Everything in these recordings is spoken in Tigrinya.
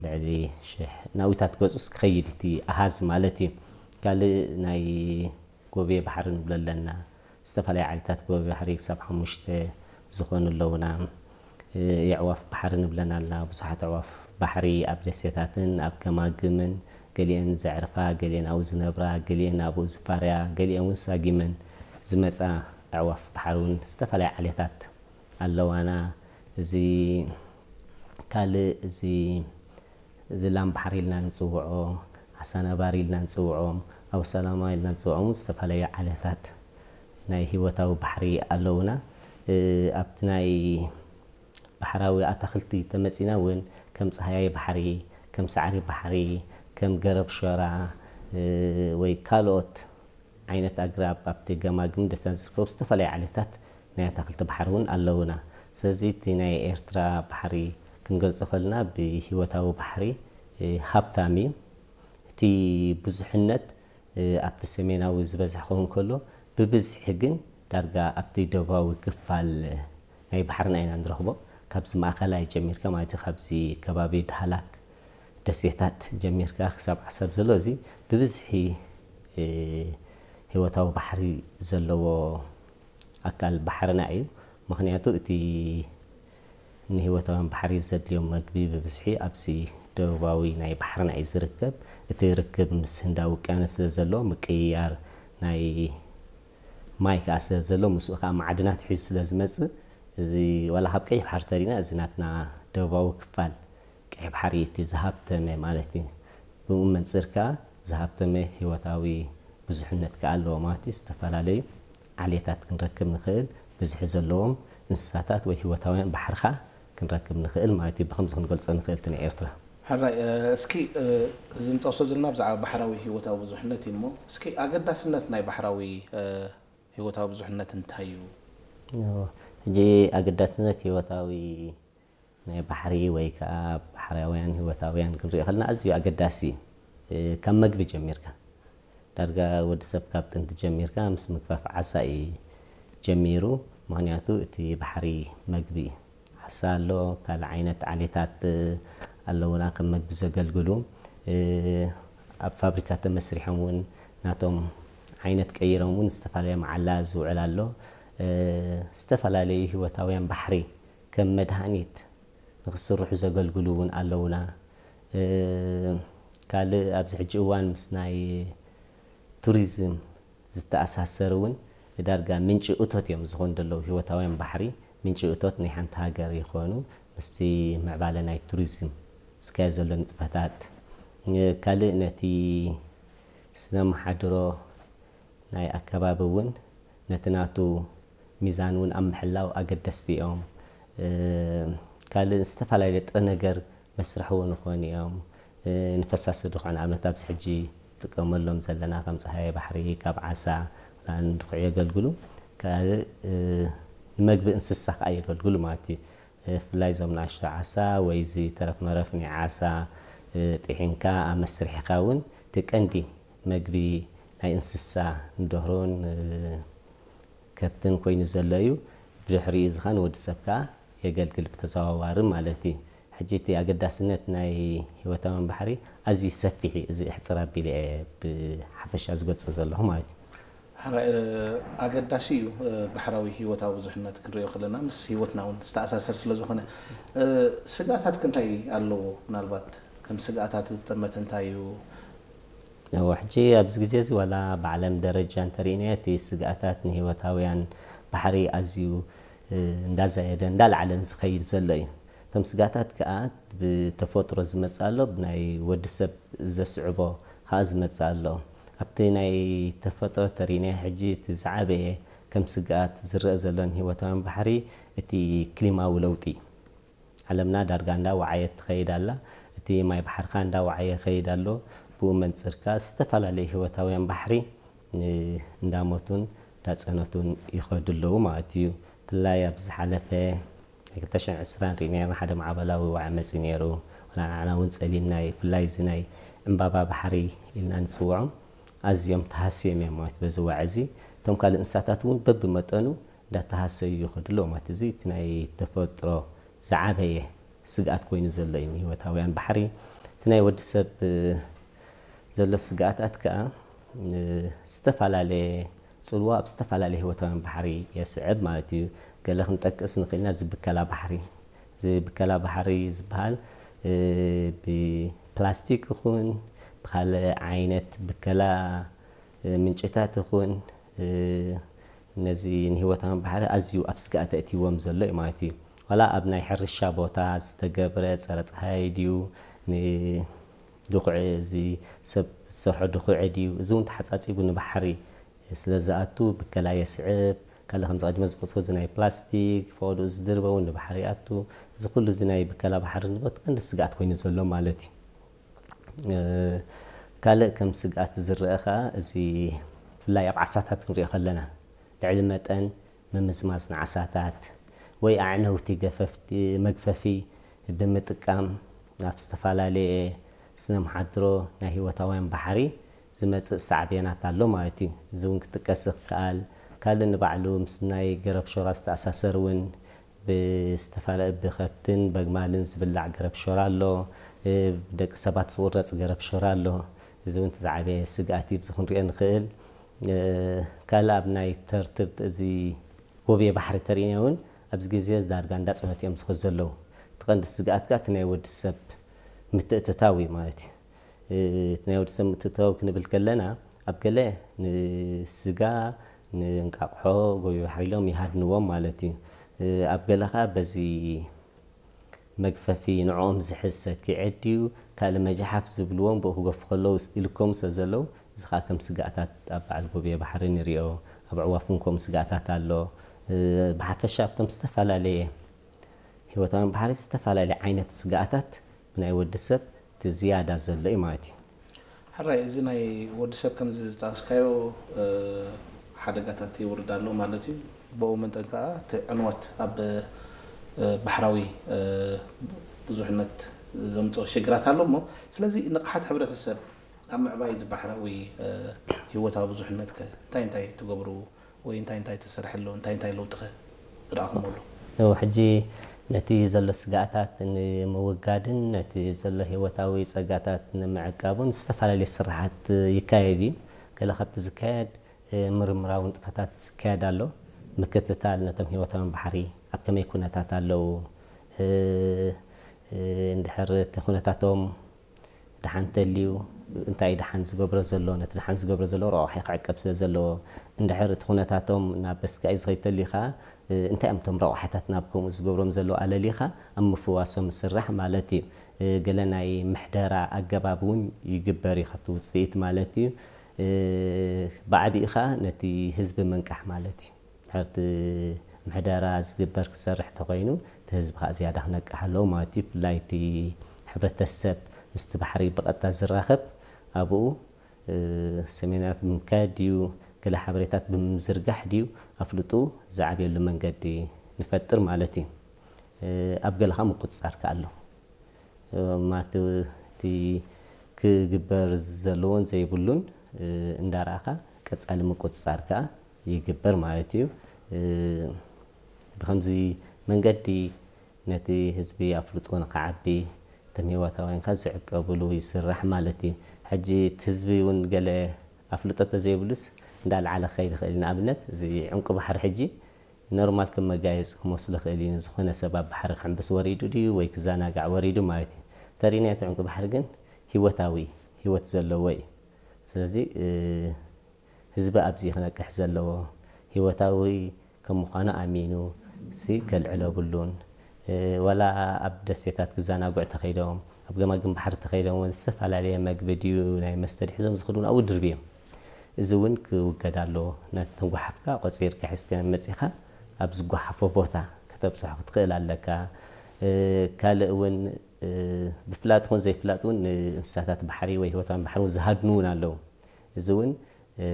ልዕሊ ሽሕ ናውታት ገጹስ ክኸይድ እቲ ኣሃዝ ማለት እዩ። ካልእ ናይ ጎብየ ባሕሪ ንብሎ ኣለና። ዝተፈላለዩ ዓይነታት ጎብየ ባሕሪ ክሳብ ሓሙሽተ ዝኾኑ ኣለውና። የዕዋፍ ባሕሪ ንብለን ኣለና። ብዙሓት ኣዕዋፍ ባሕሪ ኣብ ደሴታትን ኣብ ገማግምን፣ ገሊአን ዘዕርፋ፣ ገሊአን ኣብኡ ዝነብራ፣ ገሊአን ኣብኡ ዝፋርያ፣ ገሊአን እውን ሳጊመን ዝመጻ ኣዕዋፍ ባሕሪ እውን ዝተፈላለዩ ዓሌታት ኣለዋና። እዚ ካልእ እዚ ዝላም ባሕሪ ኢልና ንጽውዖ፣ ዓሳ ነባሪ ኢልና ንጽውዖም፣ ኣቡ ሰላማ ኢልና ንጽውዖም ዝተፈላለዩ ዓሌታት ናይ ህይወታዊ ባሕሪ ኣለውና። ኣብቲ ናይ ባሕራዊ ኣታኽልቲ ተመጺና እውን ከም ጸሃያይ ባሕሪ፣ ከም ሳዕሪ ባሕሪ፣ ከም ገረብ ሸራ ወይ ካልኦት ዓይነት ኣግራብ ኣብቲ ገማግም ደስታን ዝርከቡ ዝተፈላለዩ ዓሌታት ናይ ኣታኽልቲ ባሕሪ እውን ኣለውና። ስለዚ እቲ ናይ ኤርትራ ባሕሪ ክንገልጾ ከለና ብህይወታዊ ባሕሪ ሃብታም እዩ። እቲ ብዙሕነት ኣብቲ ሰሜናዊ ዝበዝሕ ክኸውን ከሎ፣ ብብዝሒ ግን ዳርጋ ኣብቲ ደቡባዊ ክፋል ናይ ባሕርና ኢና ንረኽቦ። ካብዚ ማእኸላይ ጀሚርካ ማለት እዩ፣ ካብዚ ከባቢ ዳህላክ ደሴታት ጀሚርካ ክሳብ ዓሰብ ዘሎ እዚ ብብዝሒ ህይወታዊ ባሕሪ ዘለዎ ኣካል ባሕርና እዩ። ምኽንያቱ እቲ ንህይወታውያን ባሕሪ ዘድልዮም መግቢ ብብዝሒ ኣብዚ ደቡባዊ ናይ ባሕርና እዩ ዝርከብ። እቲ ርክብ ምስ ህንዳዊ ውቅያኖስ ስለ ዘሎ፣ ምቅይያር ናይ ማይ ከኣ ስለ ዘሎ፣ ምስኡ ከኣ ማዕድናት ሒዙ ስለ ዝመጽእ፣ እዚ ዋላ ካብ ቀይሕ ባሕሪ ተሪና፣ እዚ ናትና ደቡባዊ ክፋል ቀይሕ ባሕሪ እቲ ዝሃብተመ ማለት እዩ። ብኡ መንጽር ከኣ ዝሃብተመ ህይወታዊ ብዙሕነት ከኣ ኣለዎ ማለት እዩ። ዝተፈላለዩ ዓሌታት ክንረክብ ንኽእል፣ ብዝሒ ዘለዎም እንስሳታት ወይ ህይወታውያን ባሕርኻ ክንረክብ ንኽእል ማለት እዩ። ብኸምዚ ክንገልጾ ንኽእል እቲ ናይ ኤርትራ። ሕራይ፣ እ፣ እስኪ፣ እ፣ እዚ ንጠቕሶ ዘለና ብዛዕባ ባሕራዊ ህይወታዊ ብዙሕነት እዩ እሞ፣ እስኪ ኣገዳስነት ናይ ባሕራዊ፣ እ፣ ህይወታዊ ብዙሕነት እንታይ እዩ? እዎ፣ ሕጂ ኣገዳስነት ህይወታዊ ናይ ባሕሪ ወይ ከኣ ባሕራውያን ህይወታውያን ክንሪኦ ከለና ኣዝዩ ኣገዳሲ እዩ። እ፣ ካብ መግቢ ጀሚርካ፣ ዳርጋ ወዲ ሰብ ካብ ጥንቲ ጀሚርካ ምስ ምግፋፍ ዓሳ እዩ ጀሚሩ። ምኽንያቱ እቲ ባሕሪ መግቢ እዩ። ዓሳ ኣሎ፣ ካልእ ዓይነት ዓሌታት ኣለውና ከም መግቢ ዘገልግሉ። እ፣ ኣብ ፋብሪካ ተመስሪሖም እውን ናቶም ዓይነት ቀይሮም እውን ዝተፈላለየ መዓላ ዝውዕል ኣሎ። እ፣ ዝተፈላለዩ ህይወታውያን ባሕሪ ከም መድሃኒት ንክስርሑ ዘገልግሉ እውን ኣለውና። እ፣ ካልእ ኣብዚ ሕጂ እዋን ምስ ናይ ቱሪዝም ዝተኣሳሰር እውን ዳርጋ ምንጪ እቶት እዮም ዝኾኑ ዘለዉ። ህይወታውያን ባሕሪ ምንጪ እቶት ናይ ሓንቲ ሃገር ይኾኑ። ምስቲ ምዕባለ ናይ ቱሪዝም ዝካየድ ዘሎ ንጥፈታት፣ እ፣ ካልእ ነቲ ስነ መሓድሮ ናይ ኣከባቢ እውን ነቲ ናቱ ሚዛን እውን ኣብ ምሕላው ኣገደስቲ እዮም። እ፣ ካልእ ዝተፈላለዩ ጥረ ነገር መስርሒ እውን ይኾኑ እዮም። እ፣ ንፈሳሲ ድኾን ኣብነት ኣብዚ ሕጂ ጥቀመሎም ዘለና ከም ጸሃየ ባሕሪ ካብ ዓሳ ንድኹዕ የገልግሉ። ካልእ፣ እ፣ ንመግቢ እንስሳ ከኣ የገልግሉ ማለት እዩ። እ፣ ብፍላይ እዞም ንኣሽቱ ዓሳ ወይ እዚ ተረፍ መረፍ ናይ ዓሳ፣ እ፣ ጥሒንካ ኣብ መስርሒኻ እውን እቲ ቀንዲ መግቢ ናይ እንስሳ ንደርሆን፣ እ፣ ከብትን ኮይኑ ዘሎ እዩ። ብድሕሪኡ እዚ ኸኣ ንወዲ ሰብ ከኣ የገልግል ብተዘዋዋሪ ማለት እዩ። ሕጂ እቲ ኣገዳስነት ናይ ህይወታውያን ባሕሪ ኣዝዩ ሰፊሕ እዩ። እዚ ኣሕጽር ኣቢለ እየ ብሓፈሻ ዝገልጾ ዘለኹ ማለት እዩ። ሕራይ፣ እ፣ ኣገዳሲ እዩ፣ እ፣ ባሕራዊ ህይወታዊ ብዙሕነት ክንሪኦ ከለና ምስ ህይወትና እውን ዝተኣሳሰር ስለ ዝኾነ። እ፣ ስግኣታት ከ እንታይ ኣለዎ? ምናልባት ከም ስግኣታት ዝጠመተ እንታይ እዩ? እወ፣ ሕጂ ኣብዚ ግዜ እዚ ዋላ ብዓለም ደረጃ እንተሪእናዮ እቲ ስግኣታት ንህይወታውያን ባሕሪ ኣዝዩ፣ እ፣ እንዳዛየደ እንዳልዓለን ዝኸይድ ዘሎ እዩ። እቶም ስግኣታት ከኣ ብተፈጥሮ ዝመጽእ ኣሎ፣ ብናይ ወዲ ሰብ ዘስዕቦ ከኣ ዝመጽእ ኣሎ። ኣብቲ ናይ ተፈጥሮ ተሪእናዮ ሕጂ እቲ ዝዓበየ ከም ስግኣት ዝረአ ዘሎ ንህይወታውያን ባሕሪ እቲ ክሊማዊ ለውጢ። ዓለምና ዳርጋ እንዳወዓየት ትኸይድ ኣላ። እቲ ማይ ባሕርኻ እንዳወዓየ ይኸይድ ኣሎ። ብኡ መንጽርካ ዝተፈላለዩ ህይወታውያን ባሕሪ፣ እ፣ እንዳሞቱን እንዳጸነቱን ይኸዱ ኣለዉ ማለት እዩ። ብፍላይ ኣብ ዝሓለፈ ናይ ክልተ ሽሕን ዕስራን ርኢና ነይርና፣ ሓደ ማዕበላዊ ዋዒ መጺኡ ነይሩ። ወላ ንዓና እውን ጸሊምና እዩ። ብፍላይ እዚ ናይ ዕምባባ ባሕሪ ኢልና ንጽውዖም ኣዝዮም ተሃስዮም እዮም ማለት በዚ ዋዒ እዚ። እቶም ካልእ እንስሳታት እውን በብመጠኑ እንዳተሃሰዩ ይኸዱ ኣለዉ ማለት እዚ እቲ ናይ ተፈጥሮ ዝዓበየ ስግኣት ኮይኑ ዘሎ እዩ ንህይወታውያን ባሕሪ። እቲ ናይ ወዲ ሰብ፣ እ፣ ዘሎ ስግኣታት ከኣ፣ እ፣ ዝተፈላለየ ጽልዋ ኣብ ዝተፈላለየ ህይወታውያን ባሕሪ የስዕብ ማለት እዩ። ገለ ክንጠቅስ ንኽእል ኢና፣ እዚ ብከላ ባሕሪ። እዚ ብከላ ባሕሪ ዝበሃል፣ እ፣ ብፕላስቲክ ይኹን፣ ብኻልእ ዓይነት ብከላ፣ እ፣ ምንጭታት ይኹን፣ እ፣ ነዚ ንህይወታውያን ባሕሪ ኣዝዩ ኣብ ስግኣት ኣእትይዎም ዘሎ እዩ ማለት እዩ። ዋላ ኣብ ናይ ሕርሻ ቦታ ዝተገብረ ጸረ ጸሃይ ድዩ፣ ንድኹዒ፣ እዚ ሰብ ዝሰርሖ ድኹዒ ድዩ፣ እዚ እውን ተሓጻጺቡ ንባሕሪ ስለ ዝኣቱ ብከላ የስዕብ። ካልእ ከምዚ ቀዲመ ዝጠቐስኩ እዚ ናይ ፕላስቲክ፣ ፈቐድኡ ዝድርበ እውን ንባሕሪ ይኣቱ። እዚ ኩሉ እዚ ናይ ብከላ ባሕሪ ንብረት ቀንዲ ስግኣት ኮይኑ ዘሎ ማለት እዩ። እ፣ ካልእ ከም ስግኣት ዝረአ ኸኣ፣ እዚ ብፍላይ ኣብ ዓሳታት ክንሪኦ ከለና፣ ልዕሊ መጠን ምምዝማዝ ንዓሳታት ወይ ኣዕነውቲ ገፈፍቲ፣ መግፈፊ ብምጥቃም፣ ናብ ዝተፈላለየ ስነ መሓድሮ ናይ ህይወታውያን ባሕሪ ዝመጽእ ሳዕቤናት ኣሎ ማለት እዩ። እዚ እውን ክጥቀስ ይከኣል። ካልእ ንባዕሉ ምስ ናይ ገረብ ሾራ ዝተኣሳሰር እውን ብዝተፈላለ ብኸብትን በግማልን ዝብላዕ ገረብ ሾራ ኣሎ። እ፣ ብደቂ ሰባት ዝቑረጽ ገረብ ሾራ ኣሎ። እዚ እውን እቲ ዝዓበየ ስግኣት እዩ፣ ብዚ ክንሪኦ ንኽእል። እ፣ ካልእ ኣብ ናይ ተርትርት እዚ ጎብየ ባሕሪ ተርእዮ እውን ኣብዚ ግዜ ዳርጋ እንዳጸነቱ እዮም ዝኸዱ ዘለዉ። እቲ ቀንዲ ስግኣት ከኣ እቲ ናይ ወዲ ሰብ ምትእትታው እዩ ማለት እዩ። እ፣ እቲ ናይ ወዲ ሰብ ምትእትታው ክንብል ከለና፣ ኣብ ገለ ንስጋ፣ ንእንቃቕሖ፣ ጎብየ ባሕሪ ኢሎም ይሃድንዎም ማለት እዩ። እ፣ ኣብ ገለ ከኣ በዚ መግፈፊ ንዕኦም ዝሕዝ ሰኪዐ ድዩ፣ ካልእ መጃሓፍ ዝብልዎም ብኡ ክገፉ ከለዉ ኢልኮም ስለ ዘለዉ፣ እዚ ከኣ ከም ስግኣታት ኣብ በዓል ጎብየ ባሕሪ ንሪኦ፣ ኣብ ኣዕዋፍ እውን ከምኡ ስግኣታት ኣሎ። እ፣ ብሓፈሻ ኣብቶም ዝተፈላለየ ህይወታውያን ባሕሪ ዝተፈላለየ ዓይነት ስግኣታት ብናይ ወዲ ሰብ እቲ ዝያዳ ዘሎ እዩ ማለት እዩ። ሕራይ፣ እዚ ናይ ወዲ ሰብ ከምዚ ዝጠቐስካዮ፣ እ፣ ሓደጋታት የውርድ ኣሎ ማለት እዩ። ብኡ መጠን ከኣ እቲ ዕንወት ኣብ፣ እ፣ ባሕራዊ፣ እ፣ ብዙሕነት ዘምጽኦ ሽግራት ኣሎ እሞ፣ ስለዚ ንቕሓት ሕብረተሰብ ኣብ ምዕባይ እዚ ባሕራዊ፣ እ፣ ህይወታዊ ብዙሕነት ከ እንታይ እንታይ ትገብሩ ወይ እንታይ እንታይ ተሰርሐ ኣሎ? እንታይ እንታይ ለውጢ ከ ዝረኣኹምሉ? ያው ሕጂ ነቲ ዘሎ ስግኣታት ንምውጋድን ነቲ ዘሎ ህይወታዊ ጸጋታት ንምዕቃቡን ዝተፈላለየ ስራሓት ይካየድ እዩ። ገለ ካብቲ ዝካየድ፣ እ፣ ምርምራዊ ንጥፈታት ዝካየድ ኣሎ። ምክትታል ነቶም ህይወታውያን ባሕሪ ኣብ ከመይ ኩነታት ኣለዉ፣ እ፣ እ፣ እንድሕር እቲ ኩነታቶም ደሓን ተልዩ፣ እንታይ ደሓን ዝገብሮ ዘሎ፣ ነቲ ደሓን ዝገብሮ ዘሎ ረቋሒ ክዕቀብ ስለ ዘለዎ፣ እንድሕር እቲ ኩነታቶም ናብ በስጋኢ ዝኸይድ ተልዩ ኸኣ፣ እ፣ እንታይ እዮም እቶም ረቋሕታት ናብ ከምኡ ዝገብሮም ዘለዉ ኣለሊኻ ኣብ ምፍዋሶም ምስራሕ ማለት እዩ። እ፣ ገለ ናይ ምሕደራ ኣገባብ እውን ይግበር እዩ ካብቲ ውጽኢት ማለት እዩ። እ፣ ብዓቢኡ ኸኣ ነቲ ህዝቢ ምንቃሕ ማለት እዩ። ድሕርቲ ምሕደራ ዝግበር ክሰርሕ ተኾይኑ፣ እቲ ህዝቢ ኸኣ ዝያዳ ክነቅሕ ኣለዎ ማለት እዩ። ብፍላይ እቲ ሕብረተሰብ ምስቲ ባሕሪ ብቐጥታ ዝራኸብ፣ ኣብኡ፣ እ፣ ሰሚናራት ብምካየድ ድዩ፣ ገለ ሓበሬታት ብምዝርጋሕ ድዩ፣ ኣፍልጡ ዝዓብየሉ መንገዲ ንፈጥር ማለት እዩ። እ፣ ኣብ ገለ ኸኣ ምቁጽጻር ከኣ ኣሎ። ማት-፣ እቲ ክግበር ዘለዎን ዘይብሉን፣ እ፣ እንዳረኣኻ ቀጻሊ ምቁጽጻር ከኣ ይግበር ማለት እዩ። እ፣ ብኸምዚ መንገዲ ነቲ ህዝቢ ኣፍልጦ ንኸዓቢ፣ እቶም ህይወታውያን ከኣ ዝዕቀብሉ ይስራሕ ማለት እዩ። ሕጂ እቲ ህዝቢ እውን ገለ ኣፍልጦ ተዘይብሉስ እንዳልዓለ ክኸይድ ይኽእል እዩ። ንኣብነት፣ እዚ ዕንቁ ባሕሪ ሕጂ ኖርማል ከም መጋየፂ ክመስሎ ይኽእል እዩ። ዝኾነ ሰብ ኣብ ባሕሪ ክሕምብስ ወሪዱ ድዩ ወይ ክዘናጋዕ ወሪዱ ማለት እዩ። ተሪናዮ እቲ ዕንቁ ባሕሪ ግን ህይወታዊ፣ ህይወት ዘለዎ እዩ። ስለዚ፣ እ፣ ህዝቢ ኣብዚ ክነቅሕ ዘለዎ፣ ህይወታዊ ከም ምዃኑ ኣሚኑ ሲ ከልዕሎ የብሉን። እ፣ ዋላ ኣብ ደሴታት ክዘናግዑ ተኸይዶም፣ ኣብ ገማግም ባሕሪ ተኸይዶም እውን ዝተፈላለየ መግቢ ድዩ ናይ መስተ ድዩ ሒዞም ዝኸዱ እውን ኣብኡ ድርብዮም። እዚ እውን ክውገድ ኣለዎ። ነተን ጓሓፍካ ቆጺርካ ሒዝካ መጺኻ ኣብ ዝጓሓፎ ቦታ ከተብጽሖ ክትኽእል ኣለካ። እ፣ ካልእ እውን፣ እ፣ ብፍላጥ ይኹን ዘይፍላጥ እውን ንእንስሳታት ባሕሪ ወይ ህይወታውያን ባሕሪ እውን ዝሃድኑ እውን ኣለዉ። እዚ እውን፣ እ፣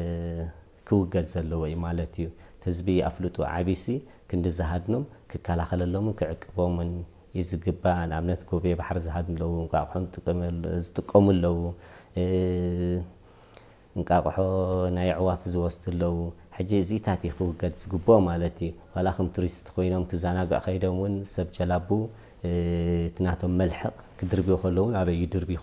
ክውገድ ዘለዎ እዩ ማለት እዩ። እቲ ህዝቢ ኣፍልጡ ዓቢሲ ክንዲ ዝሃድኖም ክከላኸለሎምን ክዕቅቦምን እዩ ዝግባእ። ንኣብነት፣ ጎብየ ባሕሪ ዝሃድኑ ኣለዉ፣ እንቋቑሖ ዝጥቀሙ፣ ዝጥቀሙ ኣለዉ። እ፣ እንቃቑሖ ናይ ኣዕዋፍ ዝወስዱ ኣለዉ። ሕጂ እዚታት እዩ ክውገድ ዝግብኦ ማለት እዩ። ዋላ ከም ቱሪስት ኮይኖም ክዘናግዑ ከይዶም እውን ሰብ ጀላቡ፣ እቲ ናቶም መልሕቕ ክድርብዩ ከለዉ ኣበይ ይድርብዩ